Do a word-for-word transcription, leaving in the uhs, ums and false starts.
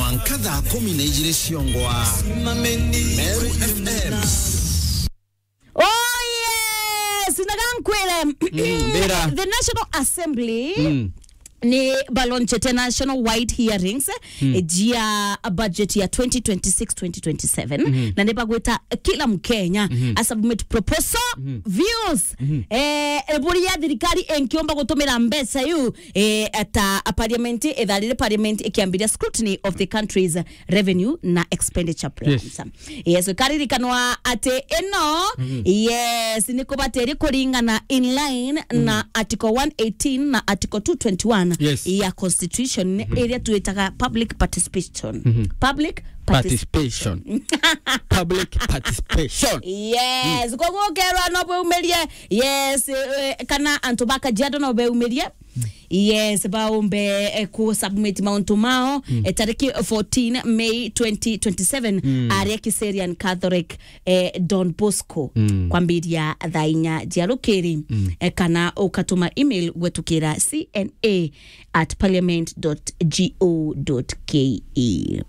Mwanka thaa kumi na ijiri ciongwa. Meru F M. Oh yes, naga nkwire. Mm, mbira. The National Assembly Mm. ni balonchete national wide hearings Mm. eh, jia budget ya twenty twenty-six twenty twenty-seven. Mhm. Na ni bagwita kila Mkenya Mhm. a submit proposal, Mhm. views, Mhm. eh, buria thirikari inkiomba gutumira mbeca iu eh, ta a parliament, ithaa riri parliament ikiambiria scrutiny of the country's revenue na expenditure plans. Yes. Yes, karirikanwa ati ino, Mhm. yes, ni kubatiri kuringana in line Mhm. na article one eighteen na article two twenty-one Yes. ya constitution Mhm. iria twitaga public participation. Mhm. Public participation. Participation. Public participation. Yes, koguo ukerwa no beumirie. Yes, eh, kana antu ba Kajiado no beumirie. Yes, baumbe eh, ku submit mauntu mao Mm. eh, tariki fourteen May twenty twenty-seven Mm. aria Kiserian Catholic eh, Don Bosco Mm. kwambiria thaa inya cia rukiri Mm. eh, kana ukatuma email gwetukira C N A at parliament dot G O dot K E.